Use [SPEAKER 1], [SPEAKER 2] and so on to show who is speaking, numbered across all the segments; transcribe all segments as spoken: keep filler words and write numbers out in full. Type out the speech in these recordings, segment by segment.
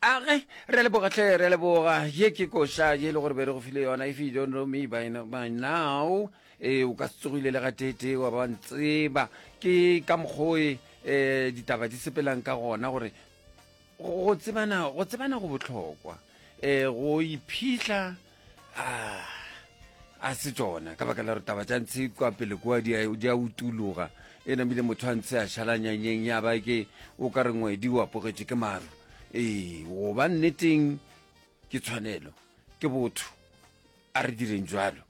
[SPEAKER 1] Age, re a leboga hle, re a leboga. Ye ke koša ye e le gore be re go file yona. If you don't know me by, by now, e o ka se tsogile le gateetee wa ba ntseba. Ke ka mokgwa e eh, ditaba di sepelang ka gona gore go tsebana go tsebana go bohlokwa. Eh, go iphihla ah, a se tšona ka baka la gore taba tša ntshe kwa pele kua di a di a utuloga e namile motho a ntshe a šala nyanyeng ya ba ke o ka re ngwedi o apogetše ke maru. Ee, go ba nneteng ke tshwanelo, ke botho, a re direng jwalo.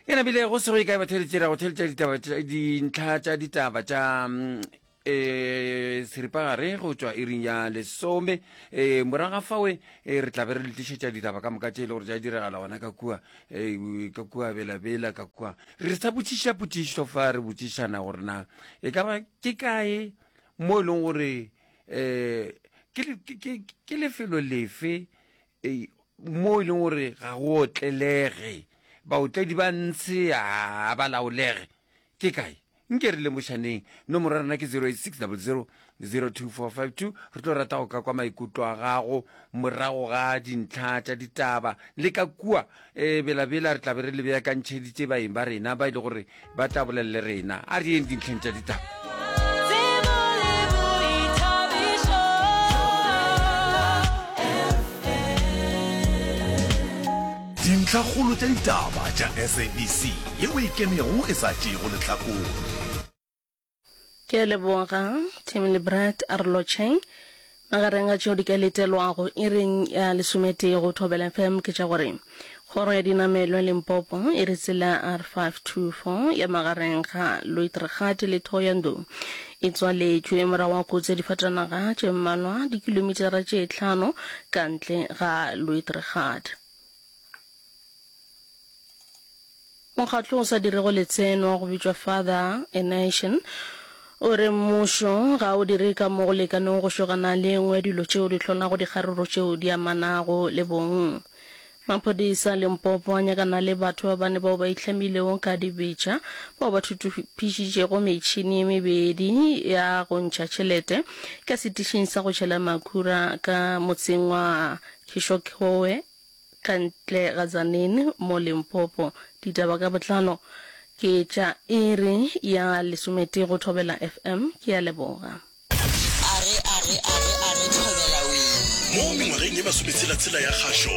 [SPEAKER 1] E namile go se go ye kae batheeletši ra go theeletša ditaba tša dintlha tša ditaba tša um seripagare go tšwa iring ya lesome. E morago ga fawe e re tla be re le tlišetša ditaba ka moka tše e le gore tša diregala gona ka kua e ka kua belabela ka kua. Re sa botšiša potšišo fa re botšišana gore na e ka ba ke kae mo e leng gore um ke, ke, ke lefelo lefe e, mo e leng gore ga go otlelege, baotledi ba ntshe a ba laolege, ke kae? Nke re lemošaneng. Nomoro ya rena ke zero eight six double zero zero two four five two. Re tlo rata go ka kwa maikutlo a gago morago ga dintlha tša ditaba le ka kua e belabela re tla be re le beakantšheditše baeng ba rena ba e le gore ba tla bolela le rena. A re yeng dintlheng tša ditaba.
[SPEAKER 2] Tsebo le boithabišo F M.
[SPEAKER 3] Dintlhakgolo tša ditaba tša S A B C yeo e kenego e sa tšeego lehlakore.
[SPEAKER 4] Ke a leboga, Tim le Brad, a re lotšheng. Magareng ga tšeo di ka letelwago iring ya lesometee go Thobela F M ke tša gore Kgoro ya Dinamelwa Limpopo e re tsela ya R five two four ya magareng ga Loitregat le Thohoyandou e tswaletšwe morago ga kotsi ya difatanaga tše mmalwa dikilomitara tše hlano ka ntle ga Loitregat. Mokgatlo o sa dirego letseno wa go bitšwa Father a Nation o re mmušo ga o dire ka mo go lekanego go šogana le e nngwe ya dilo tšeo di hlolago dikgaruru tšeo di amanago le bong. Maphodisa a Limpopo a nyakana le batho ba bane bao ba itlhamilego ka dibetša bao ba thuthupišitšego metšhini e mebedi ya go ntšha tšhelete ka setišing sa go tšhela makhura ka motseng wa Kishokhoe ka ntle ga Tzaneen mo Limpopo. Ditaba ka botlalo ke tša iri ya lesometee go Thobela F M. Ke a leboga.
[SPEAKER 5] Are, are, are, are, Thobela wee.
[SPEAKER 3] Mo mengwageng ye masometshela-tshela ya kgašo,